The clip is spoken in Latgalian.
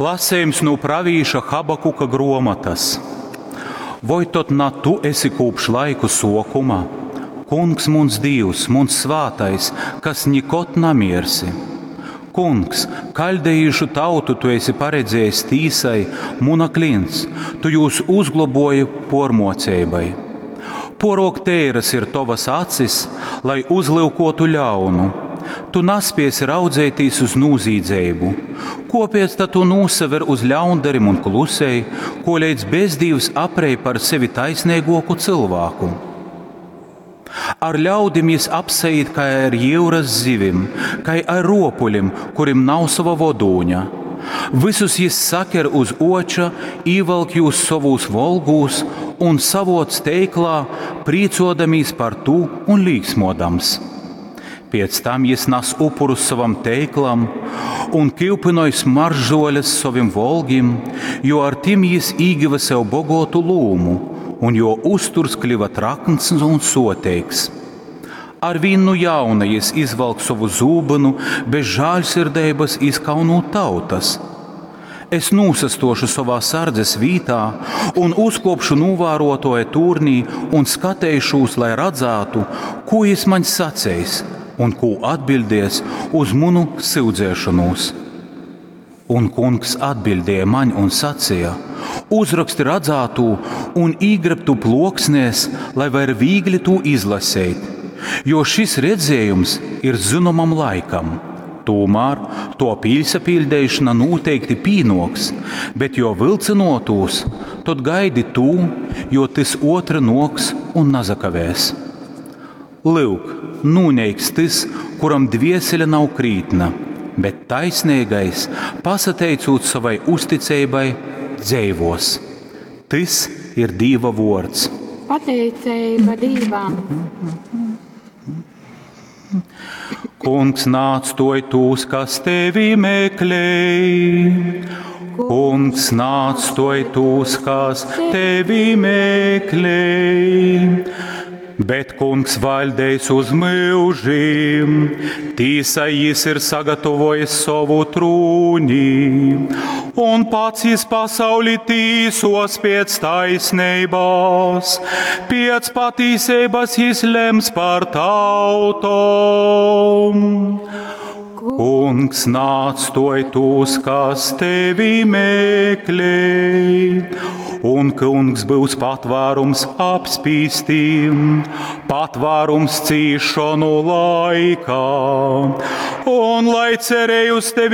Lasejums no pravīša Habakuka gruomotas. Voi tod na tu esi kūpš laiku suokuma? Kungs muns Dīvs, muns svātais, kas nikod namiersi. Kungs, kaļdejīšu tautu tu esi paredzējis tīsai, muna klints, tu jūs uzgloboji pormoceibai. Porok teiras ir tovas acis, lai uzlyukotu ļaunu. Tu naspiesi raudzēties uz nūzīdzeibu. Kopēc tad tu nūsaver uz ļaundarim un klusēji, ko līdz bezdīvs aprej par sevi taisnīgāku cilvēku? Ar ļaudim jis apsaīt kā ar jūras zivim, kā ar ropuļim, kurim nav sava vodūņa. Visus jis saker uz oča, īvalk jūs sovūs volgūs un savoc teiklā, prīcodamīs par tū un līksmodams. Pēc tam jis nas upurus savam teiklam un kiupinoj smaržzoļas sovim volgim, jo ar tim jis īgiva sev bogotu lūmu, un jo uzturs kļuva trakns un soteigs. Ar vīnu jauna jis izvalk sovu zūbynu, bez žāļsirdeibas izkaunūt tautas. Es nūsastošu savā sardzes vītā un uzkopšu novārotoja turnī un skateišūs, lai radzātu, ko jis maņ saceis un ko atbildies uz munu syudzēšanos. Un kungs atbildēja maņ un sacīja: Uzraksti radzātū un īgreb tu ploksnēs, lai var viegli to izlasīt, jo šis redzējums ir zināmam laikam. Tomēr to pīlsapildīšana noteikti pīnoks, bet jo vilcinotūs, tad gaidi tu, jo tas otra noks un nazakavēs. Lūk, nūneiks tas, kuram dviesele nav krītna, bet taisnīgais, pasateicot savai uzticībai, dzīvos. Tas ir Dieva vārds. Pateicība Dievam! Kungs nāc toj tūs, kas tevi meklē. Kungs nāc toj tūs, kas tevi meklē. Bet kungs valdējis uz mūžiem, tīsai jis ir sagatavojis savu trūni, un pats jis pasauli tīsos pēc taisnības, pēc patīsības jis lems par tautom. Kungs nāc toj tūs, kas tevi meklē, un kungs būs patvērums apspīstīm, patvērums cīšanu laikā. Un lai cerēju uz tevi